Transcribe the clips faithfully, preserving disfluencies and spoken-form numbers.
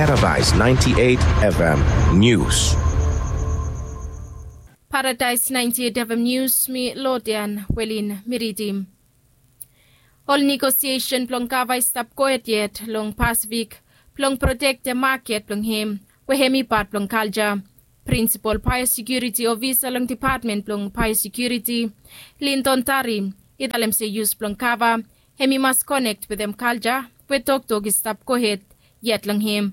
Paradise ninety-eight F M News. Paradise ninety-eight F M News, mi Lodian Welin mi ridim. Ol negosiesen blong gava i stap gohed yet long Pasifik blong protektem maket blong hem we hem i pat blong kalja. Prinsipol baeosekiuriti ofisa long depatmen blong baeosekiuriti, Lindon Tari, i talem se yus blong gava hem i mas konek wetem kalja we toktok i stap gohed yet long hem.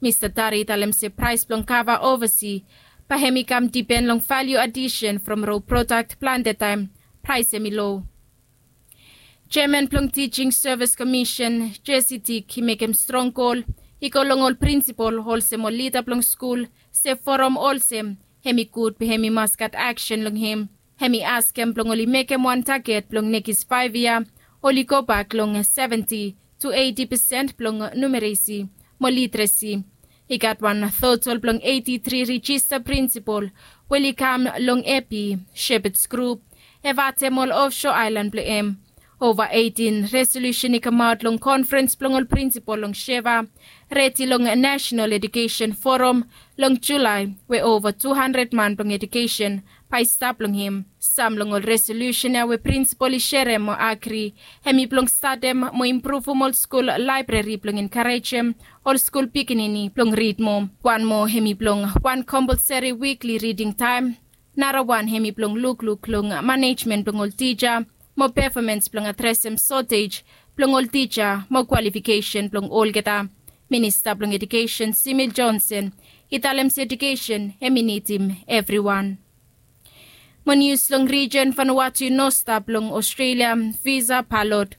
Mista Tari i talem se praes blong gava ovasi bae hem i kam dipen long valiu adisen from ro prodak plante taem praes hem i lo. Jeaman blong Tijing Sevis Komisen, Jesi Tik, i mekem strong kol i go long ol prinsipol olsem ol lida blong skul se forom olsem hem i gud be hem i mas gat aksen long hem. Hem i askem blong oli mekem wan taget blong nekis faef yia oli gobak long seventi tu eiti pesen blong numeresi mo literesi. I gat wan totol blong eiti tri rijista prinsipol we oli kam long epi, Shepherds Group, Evatem ol ofso aelan blong hem. Ova eitin resolusen i kamaot long konferens blong ol prinsipol long Sheva, redi long Nasenal Edukesen Foram long Julae we ova tu handred man blong edukesen bae i stap long hem. Sam long ol resolusen ya we prinsipol i serem mo agri hem i blong statem mo impruvum ol skul laebrari blong enkarejem ol skul pikinini blong rid moa. Wan moa hem i blong wan kompolseri wikli riding taem. Narawan hem i blong lukluk long manejmen blong ol tija mo pefomans blong adresem sotej blong ol tija mo kwalifikesen blong olgeta. Minista blong Edukesen Simil Jonson i talem se edukesen hem i nidim evriwan. Mo nius long rijen Vanuatu i no stap long Ostrelia visa palot.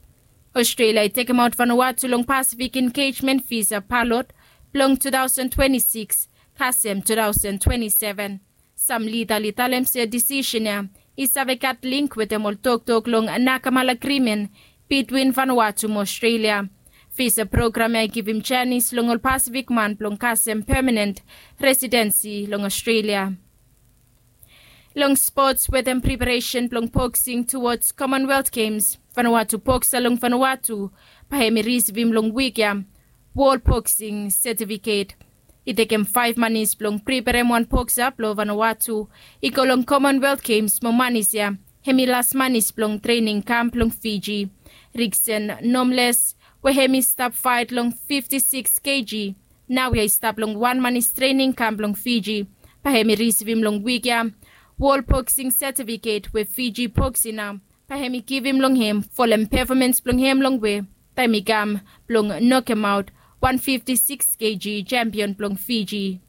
Ostrelia i tekemaot Vanuatu long Pasifik Engejmen visa palot blong tu taosen twenti sikis kasem tu taosen twenti seven. Sam lida oli talem se disisen ya i save gat link wetem ol toktok long Nakamala Agrimen bitwin Vanuatu mo Ostrelia. Visa program ya i givim janis long ol Pasifik man blong kasem pemanen residensi long Ostrelia. Long spots wetem preparesen blong boksing tuwods Commonwealth Games, Vanuatu boksa long Vanuatu bae hem i risivim long wik ya wol boksing setifiket. I tekem faef manis blong preparem wan boksa blong Vanuatu i go long Commonwealth Games mo manis ya hem i las manis blong trening kamp blong Fiji. Riksen Nomles we hem i stap faet long fifti sikis keji naoia i stap long wan manis trening kamp blong Fiji bae hem i risivim long wik ya wol boksing setifiket we Fiji boksina bae hem i givim long hem folem pefomans blong hem longwe taem i kam blong nokemaot wan fifti sikis keji jampion blong Fiji.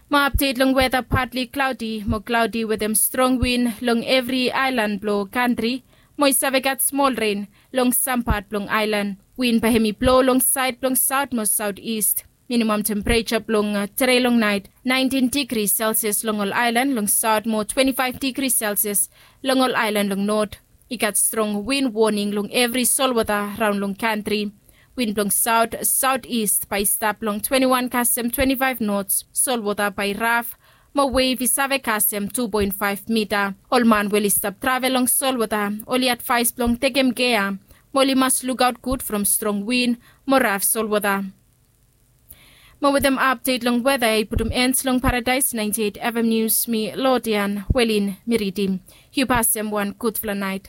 Mo apdet long weta, patli klaodi mo klaodi wetem strong win long evri aelan blong kantri mo i save gat smol ren long sam pat blong aelan. Win bae hem i blo long saed blong saot mo saotis. Minimam tempereja blong tedei long naet naentin digri selsias long ol aelan long saot mo twenti faef digri selsias long ol aelan long not. I gat strong win woning long evri solwota raon long kantri. Win blong saot saotis bae i stap long twenti wan kasem twenti faef nots. Solwota bae i raf mo wev i save kasem tu poen faef mita. Ol man we oli stap travel long solwota oli advaes blong tekem gea mo oli mas lukaot gud from strong win mo raf solwota. Mo wetem apdet long weta ya i putum en long Paradaes naenti eit FM Nius, mi Lodian Welin mi ridim. Yu pasem wan gudfala naet.